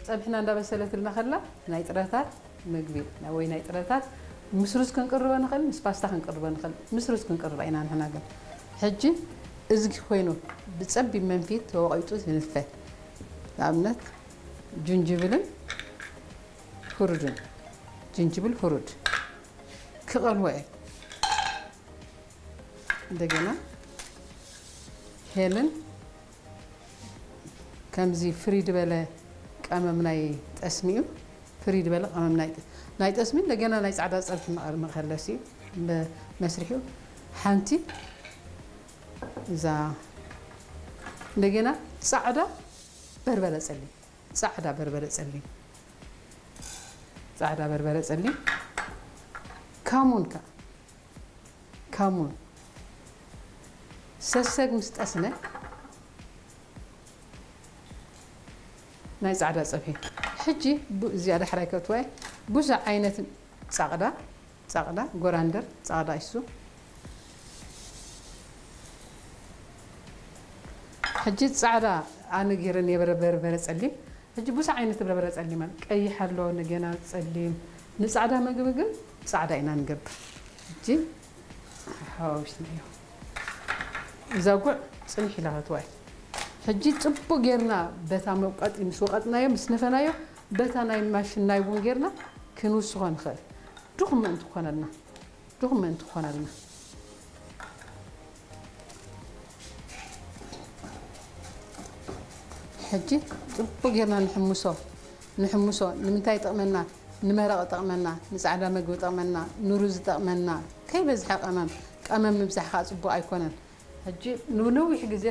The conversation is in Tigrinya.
ጸብሕና እንዳበሰለትልና ከላ ናይ ጥረታት ምግቢ ወይ ናይ ጥረታት ምስ ሩዝ ክንቅርቦ ንኽእል፣ ምስ ፓስታ ክንቅርቦ ንኽእል። ምስ ሩዝ ክንቅርባ ኢና ንሕና። ግን ሕጂ እዝጊ ኮይኑ ብጸቢብ መንፊት ተወቒጡ ዝንፈ፣ ንኣብነት ጅንጅብልን ሁሩድን፣ ጅንጅብል ሁሩድ ክቐልዎ እየ። እንደገና ሄልን ከምዚ ፍሪድ በለ ቀመም ናይ ጠስሚኡ፣ ፍሪድ በለ ቀመም ናይ ጠ-፣ ናይ ጠስሚ እንደገና ናይ ጻዕዳ ጸብሒ መቐር-፣ መኸለሲ መስሪሑ ሓንቲ እዛ እንደገና ጻዕዳ በርበረ ጸሊም፣ ጻዕዳ በርበረ ጸሊም፣ ጻዕዳ በርበረ ጸሊም፣ ካሙን ከ፣ ካሙን ሰሰግ ምስ ጠስነ ናይ ጻዕዳ ጸብሒ። ሕጂ ቡ-፣ እዚኣ ዳሕራይ ከእትዋ እየ። ብዙሕ ዓይነት ጻቕዳ፣ ጻቕዳ፣ ጎራንደር፣ ጻቕዳ ይሱ። ሕጂ ጻዕዳ ኣነ ገይረ ነይረ በርበረ ጸሊም። ሕጂ ብዙሕ ዓይነት በርበረ ጸሊም ኣሎ። ቀይሕ ኣሎ፣ እንደገና ጸሊም። ንጻዕዳ ምግቢ ግን ጻዕዳ ኢና ንገብር። ሕጂ ሓዋዊስናዮ። እዛ ጉዕ ጽንሕ ኢላ ክትዋይ። ሕጂ ጽቡቅ ጌርና በታ መውቀጢ ምስ ወቀጥናዮ፣ ምስ ነፈናዮ፣ በታ ናይ ማሽን ናይ ቡን ጌርና ክንውስኾ ንኽእል። ድኹም ምእንቲ ክኾነልና፣ ድኹም ምእንቲ ክኾነልና። ሕጂ ጽቡቅ ጌርና ንሕምሶ፣ ንሕምሶ። ንምንታይ ይጠቕመና? ንመረቕ ይጠቕመና፣ ንጻዕዳ መግቢ ይጠቕመና፣ ንሩዝ ይጠቕመና። ከይበዝሐ ቀመም፣ ቀመም ምብዛሕ ከኣ ጽቡቕ ኣይኮነን። ሕጂ ንነዊሕ ግዜ